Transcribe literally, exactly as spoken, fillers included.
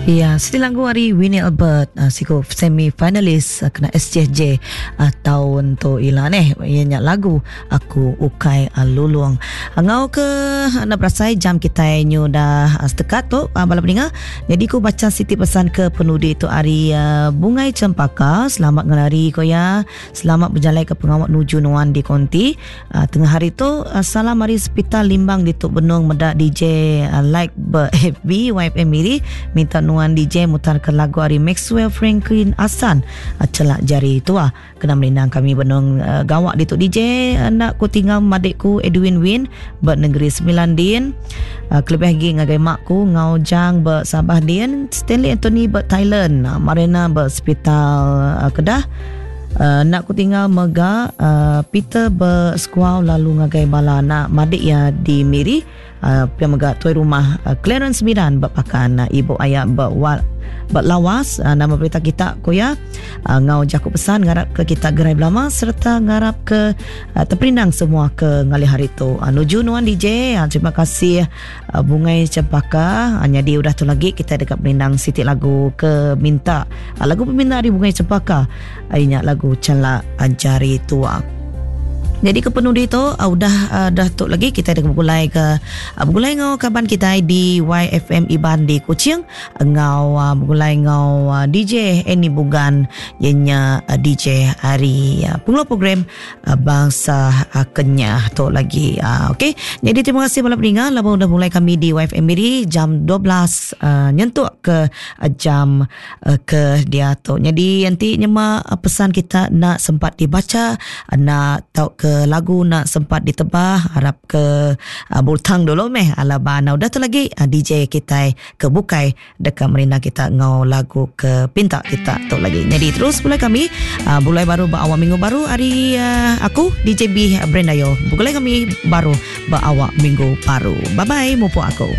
Ya, siti lagu ari Winnie Albert, uh, siku semi finalis uh, kena S J J uh, tahun tu ila neh. Iya nya lagu Aku Ukai uh, Lulung. Ngau ke anda berasai jam kita nyu dah uh, setekat tu uh, bala peninga. Jadi ku baca siti pesan ke penudi tu ari uh, Bungai Cempaka. Selamat ngelari ko ya. Selamat berjalai ke pengawak nuju nuan di konti. Uh, tengah hari tu uh, salam ari Sepital Limbang di Tuk Benung meda D J uh, like ber F B Y F M Miri minta nuan D J mutar ke lagu ari Maxwell Franklin Asan uh, Celak Jari Tua. Kena melindang kami benung uh, gawak di Tuk D J uh, nak ku tinggal madikku Edwin Win ber Negeri Sembilan din. Uh, kelebih lagi ngagai makku Ngau Jang ber Sabah din, Stanley Anthony ber Thailand, uh, Marina ber Sepital uh, Kedah. Uh, nak ku tinggal mega uh, Peter berskuau lalu ngagai bala nak madik ya di Miri. Uh, pia mega tuai rumah uh, Clarence Miran berpakan uh, ibu ayah berwal berlawas. Uh, nama berita kita ko ya. Uh, ngau jaku pesan ngarap ke kita gerai belama serta ngarap ke uh, terperindang semua ke ngalih hari tu. Uh, nuju nuan D J. Uh, terima kasih uh, Bungai Cempaka. Uh, jadi udah tu lagi kita dekat perindang siti lagu ke minta. Uh, lagu peminta dari Bungai Cempaka. Uh, ingat lagu Celak Jari Tua. Jadi ke penudi tu uh, udah uh, dah tu lagi kita ada bergulai ke uh, bergulai ngau kaban kita di Y F M Iban di Kuching ngau uh, bergulai ngau uh, D J Eni Bugan ianya uh, D J hari uh, pengelola program uh, Bangsa uh, Kenyah tu lagi. Uh, okey. Jadi terima kasih bala pendengar lama udah mulai kami di Y F M Miri jam dua belas uh, nyentuk ke uh, jam uh, ke dia tu. Jadi nanti nyema uh, pesan kita nak sempat dibaca, uh, nak tahu ke lagu nak sempat ditebah, harap ke uh, bultang dulu meh ala bana udah tu lagi uh, D J kita ke bukai dekat merina kita ngau lagu ke pinta kita tu lagi. Jadi terus mulai kami uh, mulai baru berawal minggu baru hari uh, aku D J B Brenda Yo. Mulai kami baru berawal minggu baru. Bye bye mupu aku.